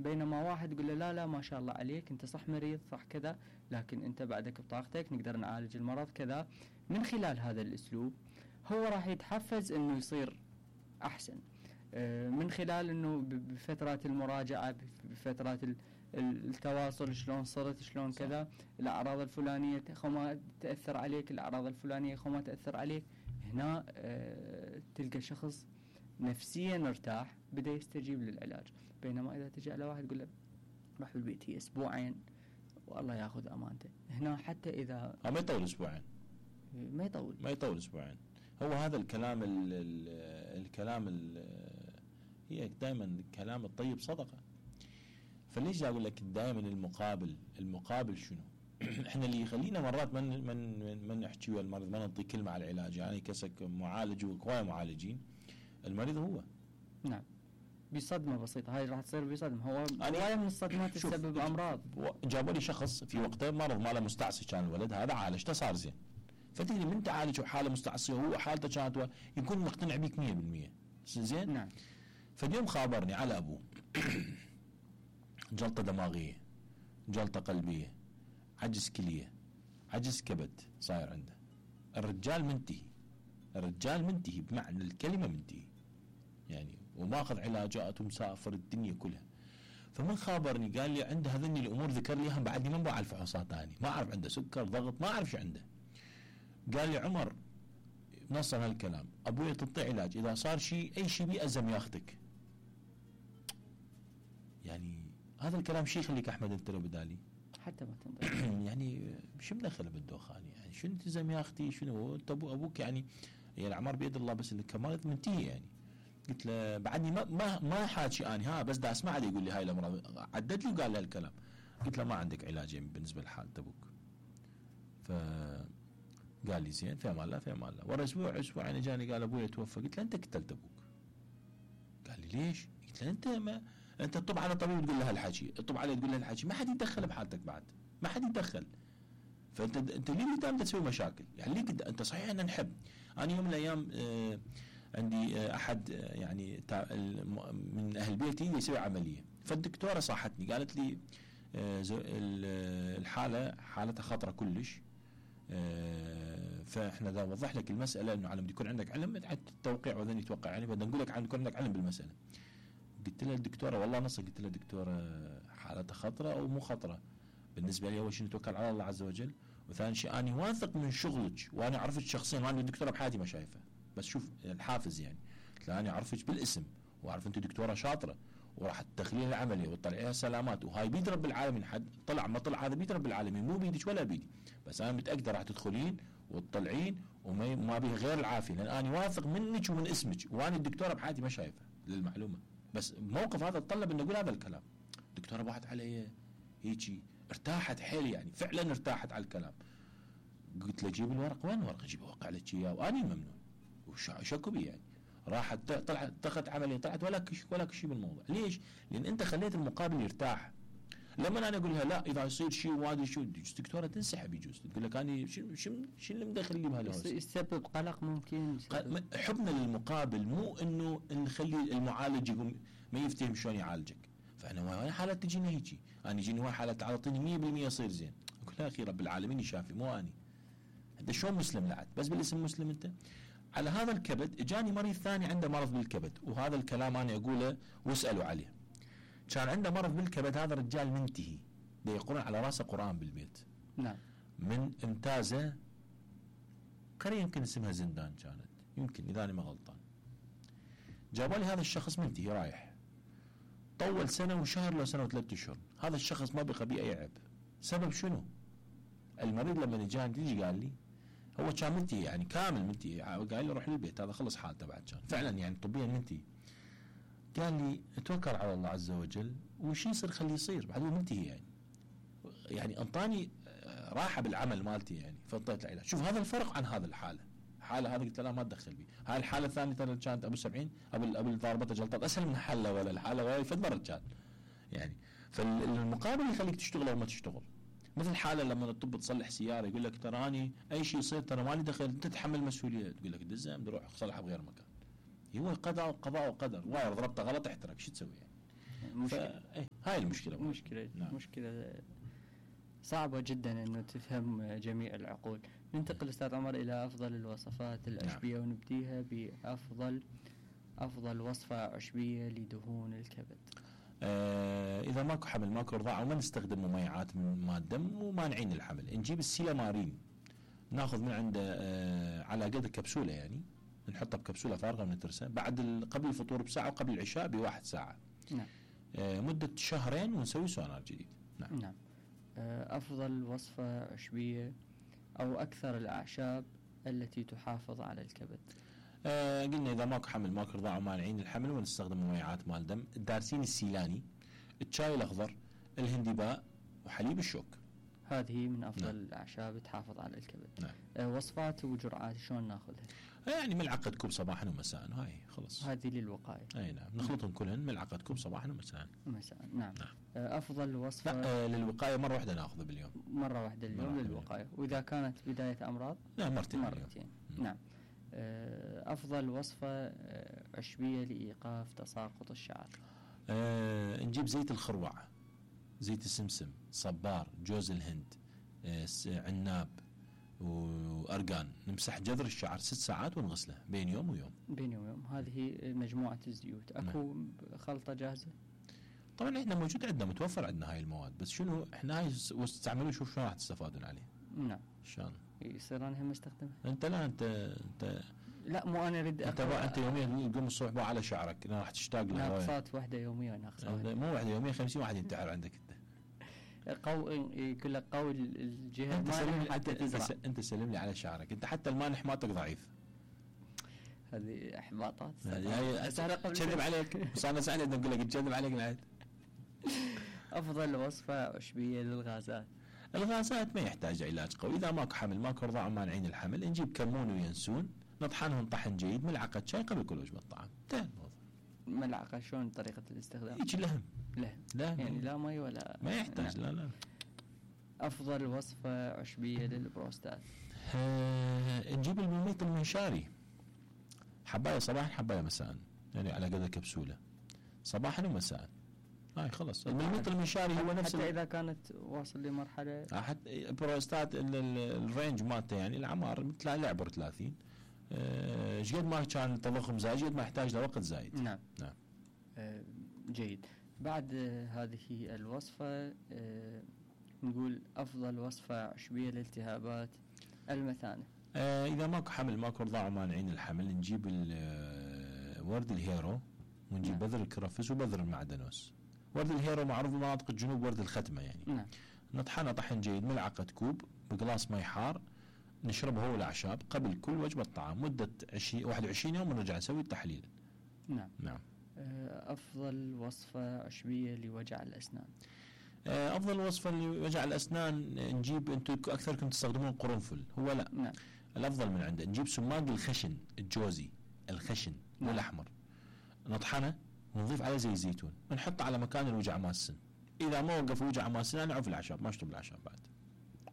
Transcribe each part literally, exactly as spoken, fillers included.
بينما واحد يقول له لا لا ما شاء الله عليك انت صح مريض صح كذا، لكن انت بعدك بطاقتك نقدر نعالج المرض كذا. من خلال هذا الاسلوب هو راح يتحفز انه يصير احسن، من خلال انه بفترات المراجعة بفترات التواصل شلون صرت شلون كذا، الاعراض الفلانية خو ما تأثر عليك، الاعراض الفلانية خو ما تأثر عليك. هنا اه تلقى شخص نفسيا ارتاح بدأ يستجيب للعلاج. بينما اذا تجي على واحد يقول له راح بالبيت هي اسبوعين والله ياخذ امانته، هنا حتى اذا ما يطول اسبوعين ما يطول ما يطول اسبوعين. هو هذا الكلام ال ال الكلام ال هي دائما الكلام الطيب صدقه. فليش اقول لك دائما المقابل المقابل شنو؟ احنا اللي يخلينا مرات من من من نحكي ويا المريض ما نعطي كلمه على العلاج، يعني كسك معالج وكواي معالجين، المريض هو نعم بصدمه بسيطه هاي راح تصير بصدمه. هو هوايه من الصدمات تسبب امراض. جابوا لي شخص في وقته مرض ماله مستعصي كان الولد هذا عالجته صار زين، فتدري من تعالج حاله مستعصيه وهو حالته كانت يكون مقتنع بك مية بالمية زين. نعم. فاليوم خابرني على ابوه جلطه دماغيه، جلطه قلبيه، عجز كليه، عجز كبد صاير عنده. الرجال منتهي، الرجال منتهي بمعنى الكلمه منتهي يعني، وماخذ علاجات ومسافر الدنيا كلها. فمن خابرني قال لي عنده هذني الامور ذكر لي هم بعدني ما بعرف فحوصات ثانيه، ما اعرف عنده سكر ضغط ما اعرف شو عنده. قال لي عمر نص هالكلام ابوي تعطي علاج اذا صار شيء اي شيء بيأزم ياخذك. يعني هذا الكلام شيء يخليك احمد انت لو بدالي حتى ما تنظر يعني شو مدخله بالدوخان يعني شو التزم يا اختي شنو انت ابو ابوك يعني يعني الاعمار بيد الله بس انك مريض منتهي يعني. قلت له بعدني ما ما ما حاكي اني ها بس دا اسمع يقول لي هاي الامراض عدد لي وقال لي هالكلام. قلت له ما عندك علاج بالنسبه لحاله ابوك. ف قال لي زين في امان الله في امان الله. ورا اسبوع اسبوعين اجاني قال ابوي توفى. قلت له انت قتلت ابوك. قال لي ليش؟ قلت له انت ما انت تطب على طبيب تقول له هالحكي، تطب عليه تقول له هالحكي، ما حد يتدخل بحالتك بعد، ما حد يتدخل. فانت انت ليه قدام تسوي مشاكل؟ يعني ليه قدام انت صحيح ان نحب. انا يوم من الايام آه عندي آه احد آه يعني من اهل بيتي يسوي عمليه، فالدكتوره صاحتني قالت لي آه الحاله حالتها خطره كلش. آه فاحنا دا وضح لك المساله انه على ما يكون عندك علم التوقيع وذن يتوقع يعني بدنا نقول لك عن يكون عندك علم بالمساله. قلت لها الدكتوره والله نص قلت لها الدكتوره حالتها خطره او مو خطره. بالنسبه لي اول شيء نتوكل على الله عز وجل، وثاني شيء انا واثق من شغلك وانا اعرفك شخصيا وانا الدكتوره بحياتي ما شايفه بس شوف الحافز يعني. قلت لها انا اعرفك بالاسم واعرف انت دكتوره شاطره وراح تدخلين العمليه وتطلعيها سلامات وهاي بيد رب العالمين. حد طلع ما طلع هذا بيد رب العالمين مو بيدك ولا بيدي، بس انا متاكده راح تدخلين وتطلعين وما ما بيه غير العافيه لان انا واثق منك ومن اسمك وانا الدكتوره بحياتي ما شايفه للمعلومه. بس الموقف هذا تطلب ان اقول هذا الكلام. الدكتوره باعت علي هيجي ارتاحت حيل يعني فعلا ارتاحت على الكلام. قلت له جيب الورق. وين ورق؟ اجيب اوقع لك اياه واني ممنون وشكو بي يعني. راحت طلعت اتخذت عمليه طلعت ولا كش ولا شيء بالموضوع. ليش؟ لان انت خليت المقابل يرتاح. لما انا اقول لها لا اذا يصير شيء وادي شو الدكتوره تنسحب يجوز تقول لك انا شو شو شو اللي مدخل لي بهالهوس. يسبب قلق ممكن. حبنا للمقابل مو انه نخلي المعالج يقوم ما يفتهم شلون يعالجك. فانا واي حاله تجيني هيجي انا يجيني واي حاله تعطيني مية بالمية يصير زين. اقول لها اخي رب العالمين يشافي مو اني. انت شلون مسلم لعد بس بالاسم مسلم انت. على هذا الكبد اجاني مريض ثاني عنده مرض بالكبد وهذا الكلام انا اقوله واسالوا عليه. كان عنده مرض بالكبد هذا الرجال منتهي ده يقرأ على راسه قرآن بالبيت. نعم. من امتازه قرية يمكن اسمها زندان كانت يمكن اذا انا ما غلطان. جابوا لي هذا الشخص منتهي رايح طول سنه وشهر لو سنه وثلاث اشهر. هذا الشخص ما بقى بيه اي عيب. سبب شنو؟ المريض لما اجاني تيجي قال لي هو كان منتهي يعني كامل منتهي قال لي روح للبيت هذا خلص حالته بعد كان فعلا يعني طبيا منتهي. قال لي اتوكل على الله عز وجل وش يصير خليه يصير بعد هو منتهي يعني. يعني انطاني راحه بالعمل مالتي يعني فانطيت العلاج. شوف هذا الفرق عن هذا الحاله. الحاله هذه قلت لا ما تدخل بي. هاي الحاله الثانيه ترى كانت ابو سبعين ابو ابو ضاربته جلطات اسهل من الحاله ولا الحاله ولا فد مره كان يعني. فالمقابل يخليك تشتغل او ما تشتغل. مثل حاله لما تطب تصلح سياره يقول لك تراني اي شيء يصير ترى مالي دخل انت تتحمل مسؤوليه. تقول لك دزه بدي اروح اصلحها بغير مكان. هو قضاء قضاء وقدر. واير ضربته غلط احترق شو تسوي يعني. مشكلة. هاي المشكلة. مشكلة نعم. مشكلة صعبة جدا انه تفهم جميع العقول. ننتقل استاذ عمر الى افضل الوصفات العشبية. نعم. ونبديها بافضل افضل وصفة عشبية لدهون الكبد. آه اذا ماكو حمل ماكو رضاعة وما نستخدم مميعات من مادة ومانعين الحمل، نجيب السيلامارين ناخذ من عنده آه على قد كبسولة، يعني نحطها بكبسولة فارغة ونترسها بعد قبل الفطور بساعة وقبل العشاء بواحد ساعة. نعم. آه مدة شهرين ونسوي سونار جديد. نعم. نعم. آه افضل وصفة عشبية او اكثر الاعشاب التي تحافظ على الكبد. آه قلنا اذا ماكو حمل ماكو رضاعة ومانعين الحمل ونستخدم مميعات مال دم، الدارسين السيلاني، الشاي الاخضر، الهندباء، وحليب الشوك. هذه من افضل نعم. الاعشاب تحافظ على الكبد. نعم. آه وصفات وجرعات شلون ناخذها؟ يعني ملعقة كوب صباحا ومساء، هاي خلص. هذه للوقاية. اي نعم، نخلطهم كلهن ملعقة كوب صباحا ومساء. مساء نعم. نعم. آه افضل وصفة. لا آه للوقاية مرة واحدة ناخذها باليوم. مرة واحدة اليوم للوقاية، واذا كانت بداية امراض؟ لا مرتين. مرتين. نعم. آه افضل وصفة عشبية لايقاف تساقط الشعر. آه نجيب زيت الخروع، زيت السمسم، صبار، جوز الهند، آه عناب وأرقان، نمسح جذر الشعر ست ساعات ونغسله بين يوم ويوم. بين يوم ويوم. هذه مجموعة الزيوت. اكو نعم. خلطة جاهزة؟ طبعا احنا موجود عندنا، متوفر عندنا هاي المواد، بس شنو احنا هاي واستعملوا شوف شلون راح تستفادون عليه. نعم. شلون؟ يصير انا هم استخدمها. انت لا انت انت لا مو انا اريد انت انت يوميا تقوم الصبح بقى على شعرك، راح تشتاق له. ناقصات واحدة يوميا ناقصات. مو واحدة يوميا، خمسين واحد ينتحر عندك انت. قو يقول لك قوي الجهه انت سلم حتى تزرع. انت سلم لي على شعرك، انت حتى المانح مالتك ضعيف. هذه احباطات. هاي كذب عليك، بس انا سألت اقول لك كذب عليك العيد. افضل وصفة عشبية للغازات. الغازات ما يحتاج علاج قوي، اذا ماكو حمل ماكو رضاعة مانعين الحمل، نجيب كمون وينسون نطحنهم طحن جيد، ملعقة شاي قبل كل وجبة طعام. انتهى الموضوع. ملعقة شلون طريقة الاستخدام؟ يجي لهم. لهم. لا يعني لا مي ولا ما يحتاج. لا لا. افضل وصفة عشبية للبروستات. آه نجيب المميط المنشاري، حباية صباحا حباية مساء، يعني على قدر كبسولة صباحا ومساء. هاي خلص. المميط المنشاري هو نفس حتى اذا كانت واصل لمرحلة حتى البروستات الرينج مالته يعني الاعمار مثل يعبر ثلاثين. ايش قد ما كان التضخم زايد قد ما يحتاج له وقت زايد. نعم. نعم. آه جيد. بعد آه هذه الوصفة آه نقول افضل وصفة عشبية لالتهابات المثانة. آه اذا ماكو حمل ماكو رضاعة مانعين الحمل، نجيب ورد الهيرو ونجيب نعم. بذر الكرفس وبذر المعدنوس. ورد الهيرو معروف بمناطق الجنوب ورد الختمة يعني. نعم. نطحنه طحن جيد، ملعقة كوب بقلاص مي حار، نشربه هو الأعشاب قبل كل وجبة طعام مدة عشرين واحد وعشرين يوم، ونرجع نسوي التحليل. نعم. نعم. أفضل وصفة عشبية لوجع الأسنان. أفضل وصفة لوجع الأسنان نجيب، أنتم أكثركم تستخدمون قرنفل، هو لا. نعم. الأفضل من عنده نجيب سماق الخشن الجوزي الخشن نعم. والأحمر، نطحنه ونضيف عليه زي الزيتون ونحطه على مكان الوجع مال السن. إذا ما وقف وجع مال السن نعرف الأعشاب، ما أشرب الأعشاب بعد.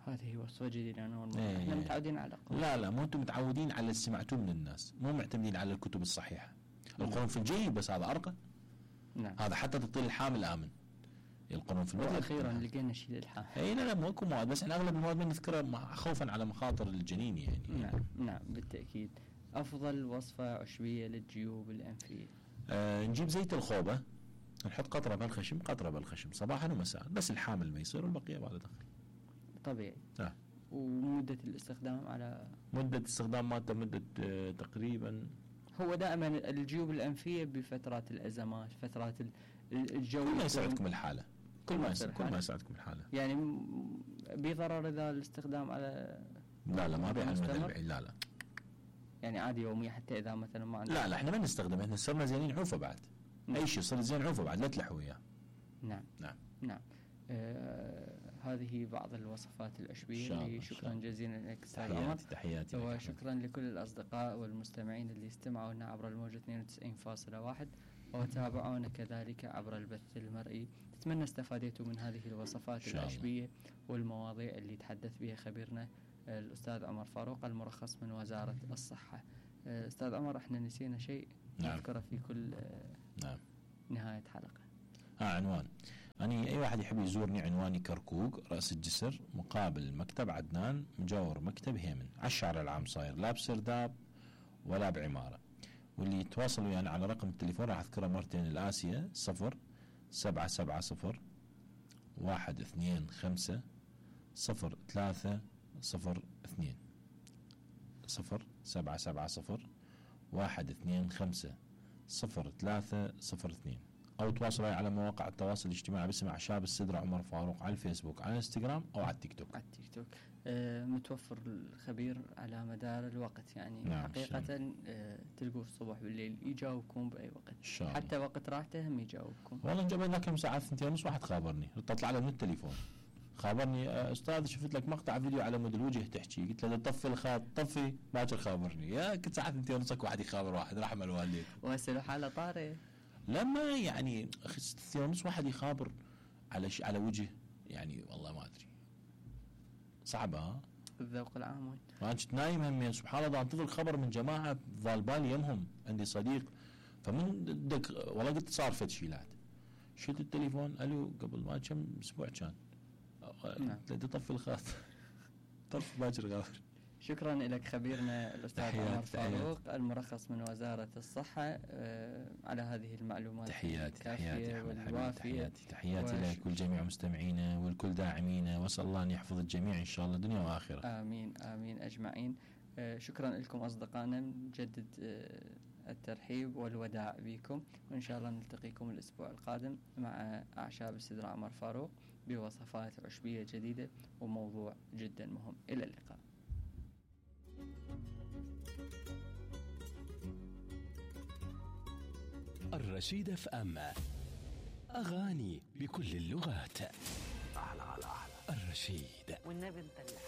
هذه وصفة جديدة. أنا ايه احنا متعودين على قرنفل. لا لا مو أنتم متعودين على اللي سمعتوه من الناس، مو معتمدين على الكتب الصحيحة. القرنفل جيد بس هذا أرقى. نعم. هذا حتى تطيل الحامل آمن. القرنفل أخيرا لقينا شيء للحامل. اي لا لا مو اكو مواد، بس احنا اغلب المواد بنذكرها خوفا على مخاطر الجنين يعني. نعم نعم بالتأكيد. أفضل وصفة عشبية للجيوب الأنفية. آه نجيب زيت الخوبة، نحط قطرة بالخشم قطرة بالخشم صباحا ومساء، بس الحامل ما يصير والبقية ما له دخل. طبيعي. آه. ومدة الاستخدام على مدة الاستخدام مالته مدة آه تقريبا، هو دائما الجيوب الأنفية بفترات الأزمات، فترات الجو، كل ما يساعدكم الحالة، كل ما يساعد كل ما يساعدكم الحالة. يعني بضرر إذا الاستخدام على لا لا ما بيع المدى البعيد. لا لا يعني عادي يوميا حتى إذا مثلا ما لا لا احنا ما نستخدم، احنا صرنا زينين عوفة بعد. نعم. أي شيء صار زين عوفة بعد، لا تلحوا وياه. نعم نعم نعم. آه هذه بعض الوصفات العشبية. شكرا جزيلا لك أستاذ عمر. تحياتي وشكرا لكل الأصدقاء والمستمعين اللي استمعوا لنا عبر الموجة اثنين وتسعين فاصلة واحد وتابعونا كذلك عبر البث المرئي. نتمنى استفادتوا من هذه الوصفات العشبية والمواضيع اللي تحدث بها خبيرنا الأستاذ عمر فاروق المرخص من وزارة الصحة. أستاذ عمر احنا نسينا شيء نعم. نذكره في كل نعم. نهاية حلقة. ها عنوان. أنا أي واحد يحب يزورني عنواني كركوك رأس الجسر مقابل مكتب عدنان مجاور مكتب هيمن على الشارع العام صاير، لا بسرداب ولا بعمارة. واللي يتواصلوا يعني على رقم التليفون راح أذكره مرتين الآسية صفر سبعة سبعة صفر واحد اثنين خمسة صفر ثلاثة صفر اثنين صفر سبعة سبعة صفر واحد اثنين خمسة صفر ثلاثة صفر اثنين، أو تواصلوا على مواقع التواصل الاجتماعي باسم أعشاب السدرة عمر فاروق على الفيسبوك على الانستغرام أو على التيك توك. على التيك توك. آه متوفر الخبير على مدار الوقت يعني. نعم حقيقة آه تلقوه الصبح بالليل يجاوبكم بأي وقت، شاء حتى وقت راحته هم يجاوبكم. والله جبنا كم ساعة ثنتين ونص واحد خابرني، تطلع له من التليفون خابرني أستاذ شفت لك مقطع فيديو على مود الوجه تحكي، قلت له طفي الخط طفي باكر خابرني. يا كنت ساعة ثنتين ونصك واحد يخابر واحد رحم الوالدين. وهسه حالة طارئ لما يعني اخي ثنتين ونص واحد يخابر على ش... على وجه يعني والله ما ادري صعبه. ها الذوق العام وين انا كنت نايم همين سبحان الله انتظر خبر من جماعه ظال بالي يمهم عندي صديق، فمن دك والله قلت صار فد شيلات شلت التليفون الو قبل ما كم اسبوع كان نعم طفي الخط طف باكر غافر. شكرا لك خبيرنا الأستاذ عمر فاروق المرخص من وزارة الصحة آه على هذه المعلومات تحياتي تحياتي والوافية. تحياتي تحياتي لك ولجميع مستمعينا والكل داعمينا، واسال الله ان يحفظ الجميع ان شاء الله دنيا واخره. امين امين اجمعين. آه شكرا لكم اصدقائنا، نجدد آه الترحيب والوداع بكم، وان شاء الله نلتقيكم الاسبوع القادم مع اعشاب السدرة عمر فاروق بوصفات عشبية جديدة وموضوع جدا مهم. الى اللقاء. الرشيد اف ام، أغاني بكل اللغات. أحلى على أحلى الرشيد. والنبي مدلع.